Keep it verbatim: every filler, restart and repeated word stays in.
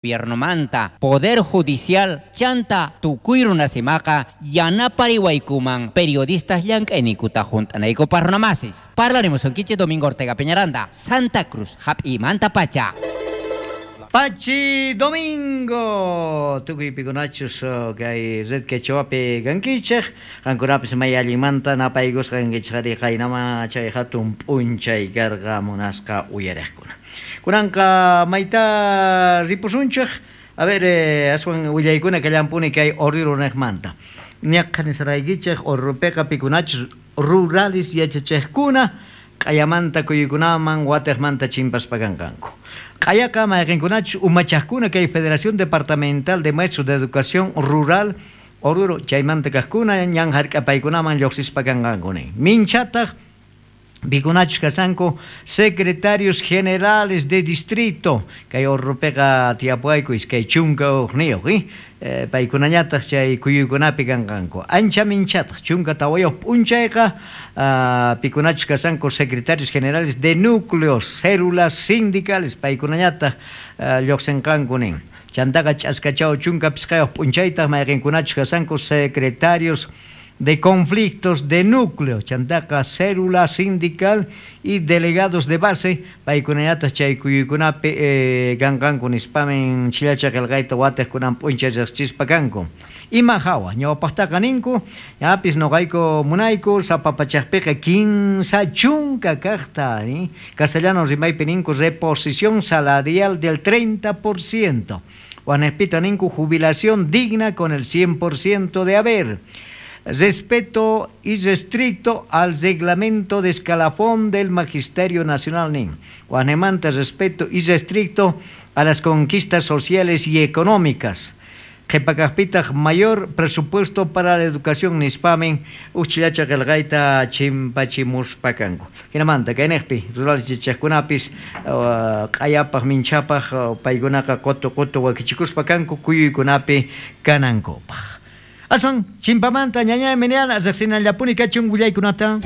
Gobiernomanta, Poder Judicial, chanta tukuy runasimaqa yanapariwaykuman periodistas llank'ayniykuta junt'anaykupaq runamasis. Parlarimusunkichik Domingo Ortega Peñaranda, Santa Cruz, hap'imanta pacha. Pachi Domingo, tukuy pikunachus kay Red Quechuapi kankichej, qankunapis may allinmanta napaykusqa kankichej qaynama chay hatun p'unchay karqa munasqa uyariqkuna. Kunanqa mayta ripusunchej, a ver, eh, aswan willaykuna kallampuni kay Oruro niqmanta. Ñaqha nisaraykichej Oruropiqa pikunachus rurales yachachejkuna q'ayamanta kuyuykunaman watiqmanta chimpaspa kanqanku. Q'ayaqa mayqinkunachus umachaqkuna kay Federación Departamental de Maestros de Educación Rural Oruro chaymanta kaqkuna ñan hark'apaykunaman lluqsispa kanqanku nin. Minchataq pikunachus kasanku secretarios generales de distrito kay Oruropiqa tiyapuwayku iskay chunka hukniyuq eh? Eh, paykunañataq chay kuyuykunapi kanqanku. Ancha minchataq chunka tawayuq p'unchayqa uh, pikunachus kasanku secretarios generales de núcleos, células sindicales paykunañataq uh, lluqsinqanku nin. Chantaqa ch'askachaw chunka pisqayuq p'unchaytaq mayqinkunachus kasanku secretarios de conflictos de núcleo, chantaqa célula sindical y delegados de base, paykunañataq chay kuyuykunapi eh, kanqanku nispamin chillacha qillqayta watiqkunan p'unchay riqsichispa kanku. Ima hawa, ñawpaqtaqa ninku, ñapis nuqayku munayku sapa pachaqpiqa kinsa chunka kaqta, eh? Castellano rimaypi ninku reposición salarial del treinta por ciento, Wanejpita ninku jubilación digna con el cien por ciento de haber. Respeto irrestricto al reglamento de escalafón del Magisterio Nacional nin. Guanemanta respeto irrestricto a las conquistas sociales y económicas. Qhipakaqpitaq mayor presupuesto para la educación nispamin uchillacha qillqayta chimpachimuspa kanku. Hinamanta kaynejpi rurales yachaqkunapis uh, q'ayapaq minchapaq uh, paykunaqa qutu qutu wakichikuspa kanku kuyuykunapi kanankupaq. Aswan chimpamanta ñañay meniana riqsinallapuni kachun willaykunata.